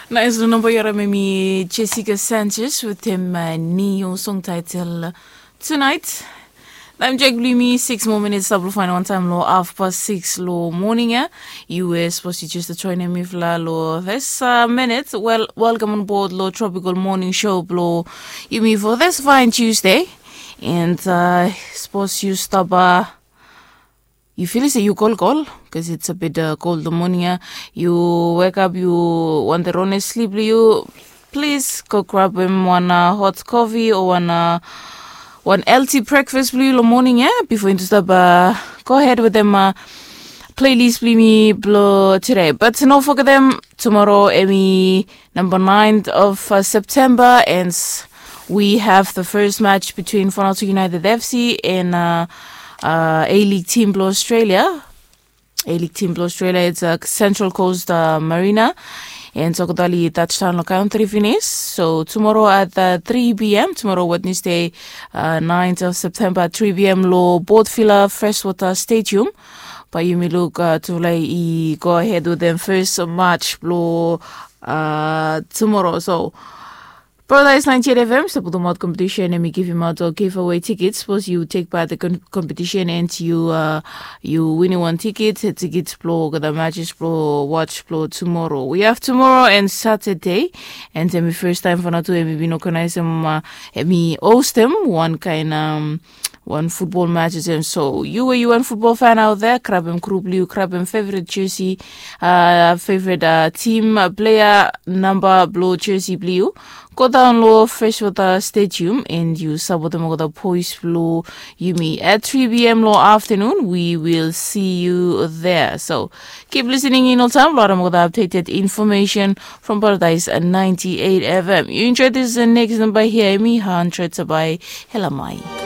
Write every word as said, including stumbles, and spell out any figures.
Nais long namba yu harim em i Jessica Sanchez wetem niu song taitel Tonight. Taem jek blong yumi six moa minits stap long fain wantaem long hafpas six long moning ya. Us bos yu jes joinim mifala long this minit. Wel, welcome on board long Tropical Morning Show blong yumi for this fine Tuesday. And uh, suppose yu stap uh, yu fili se yu kolkol, because it's a bit uh, cold the morning ya. Yu wake up, yu want the rone sleep, yu please go grab him one uh, hot coffee or one uh, one healthy breakfast blong yu long morning ya before yu stap uh, go ahead with them uh, playlist blong yumi blong today. But no forget them tomorrow, emi number ninth of uh, September, and we have the first match between Fonalto United F C and uh, uh, A-League team blong Australia. A-League team blong Australia, it's a Central Coast uh, Marina. And so kotali touchdown lo country finish. So tomorrow at uh, three p.m., tomorrow Wednesday, uh, ninth of September, three p.m. lo Port Vila Freshwater Stadium. But you may look uh, to like go ahead with them first match lo uh, tomorrow. So Paradise ninety-eight F M stap putumaot competition, emi givimaot ol giveaway tickets. Suppose you take part the competition and you uh, you win one ticket, tickets blo olgeta matches blo watch blo tomorrow. We have tomorrow and Saturday, and emi first time for natu emi bin organize em uh, emi host em one kind um, one football matches and so you where you want football fan out there, grab em group liu, grab em favorite jersey, uh, favorite uh, team uh, player number blo jersey blue. Go down lo Freshwater Stadium and you support them with the boys blo yumi at three p.m. lo afternoon. We will see you there. So keep listening in all time. Lo them with the updated information from Paradise at ninety-eight F M. You enjoy this uh, next number here, me hundred by Helamai.